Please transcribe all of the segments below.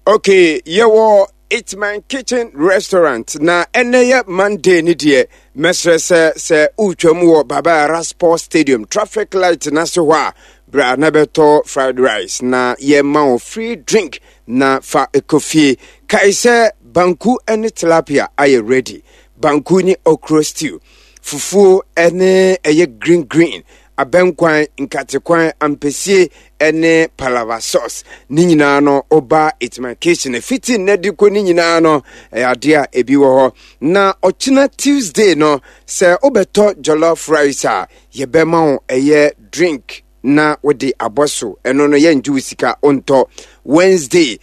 Okay, yɛwɔ It's My Kitchen Restaurant na ɛnɛ yɛ Monday ne deɛ mɛsrɛ sɛ sɛ wotwam wɔ Baba Yara Sports Stadium traffic light n'ase hɔ a bra na bɛtɔ fried rice na yɛma wo free drink na fa kɔ fie. Kae sɛ banku ne tilapia ayɛ ready. Banku ne okro stew, fufuo ne ɛyɛ green green abɛnkwan, nkatekwan, ampesie ne palava sauce. Ne nyinaa no, woba It's My Kitchen fiti nnɛ de kɔ ne nyinaa no, ɛyɛ adeɛ a ebi wɔ hɔ. Na ɔkyena Tuesday no, sɛ wobɛtɔ jollof rice a, yɛbɛma wo ɛyɛ drink na wode abɔ so. Ɛno no, yɛngye wo sika, wontɔ. Wednesday,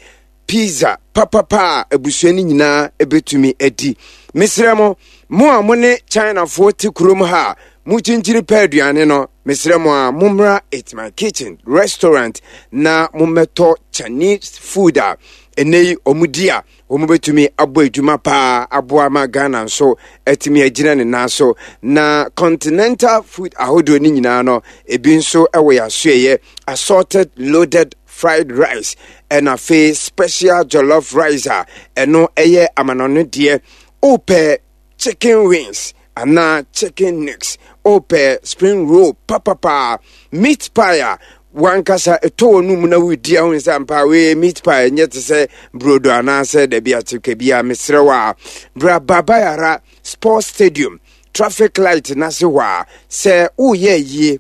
pizza papapa a abusua no nyinaa bɛtumi adi. Mesrɛ mo, mo a mo ne Chinafoɔ te kurom ha a mokyinkyini pɛ aduane no, mesrɛ mo a mommra It's My Kitchen restaurant na mommɛtɔ Chinese food a ɛnɛ yi wɔn di a wɔbɛtumi abɔ adwuma paa aboa ma Ghana nso atumi agyina ne nan so. Na continental food ahodoɔ no nyinaa no, ebi nso wɔ yɛn asoɛeɛ, assorted loaded fried rice ɛna afei special jollof rice a ɛno ɛyɛ amanɔne deɛ. Wopɛ chicken wings anaa chicken necks, wopɛ spring roll papapaa, meat pie a wankasa ɛtɔ wɔ no mu na wodi ahu sɛ ampa wei meat pie ɛnyɛ te sɛ brodo anaasɛ dabi akyekɛ bi a, mesrɛ wo a bra Baba Yara Sports Stadium traffic light n'ase hɔ a sɛ woyɛ yie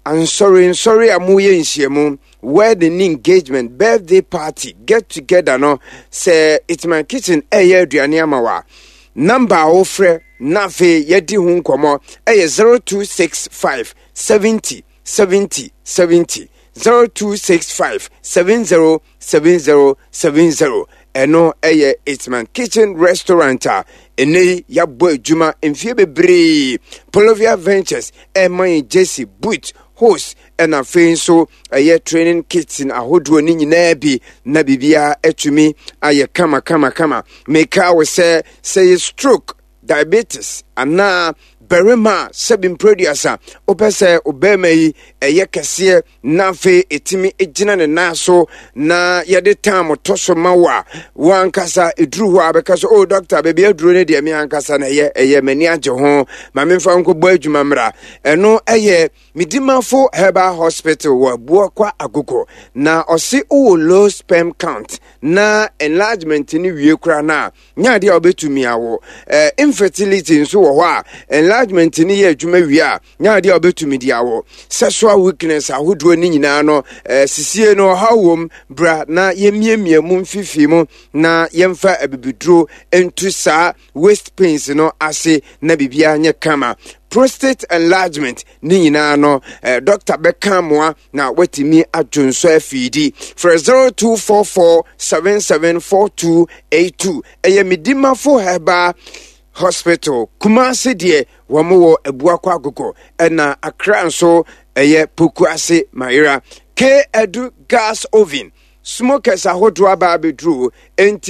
ansɔre nsɔre a moyɛ nhyiamu, wedding ne engagement, birthday party, get together no, sɛ It's My Kitchen ɛyɛ aduane ama wa, number a wofrɛ na afei yɛdi ho nkɔmmɔ ɛyɛ 0265 70 70 70, 0265 70 70 70. Ɛno ɛyɛ It's My Kitchen Restaurant a ɛnɛ yi yɛabɔ adwuma mfie bebree. Polovia Ventures ɛma yɛn jersey, boot, hose, ɛna afei nso ɛyɛ training kits ahodoɔ ne nyinaa bi na biribiara atumi ayɛ kama kama kama. Meka wo sɛ sɛ yɛ stroke, diabetes anaa barima a sɛbi mprɛduasa wopɛ sɛ ɔbarima yi ɛyɛ kɛseɛ na afei ɛtumi gyina ne nan so na yɛde tam tɔ so ma wo a, wo ankasa ɛduru hɔ a bɛka so, oh dɔkta, baabi aduro no deɛ me ankasa na ɛyɛ m'ani agye ho, ma memfa nkɔbɔ adwuma mmra. Ɛno ɛyɛ Medimafo Herbal Hospital wɔ Abuakwa Agogo. Na ɔse wowɔ low sperm count na enlargement no wie koraa no a, nyɛ adeɛ a wobɛtumi awo. Infertility nso wɔ hɔ a, enlargement no yɛ adwuma wie a, nyɛ adeɛ a wobɛtumi de awo. Sexual weakness ahodoɔ no nyinaa no, sisie no ɔhaw wom, bra na yɛmmiamia mu mfifii mu na yɛmfa abibiduro ntu saa waist pains no ase na biribiara nyɛ kama. Prostate enlargement ne nyinaa no, doctor bɛka mmoa na watumi adwo nsɔ afiidi. Frɛ 0244774282. Ɛyɛ Medimafo Herbal Hospital. Kumase deɛ wɔn wɔ Abuakɔ Agogo, ɛna Accra nso ɛyɛ Pokuase Mayera. K Edu gas oven smokers ahodoɔ aba abɛduru enti.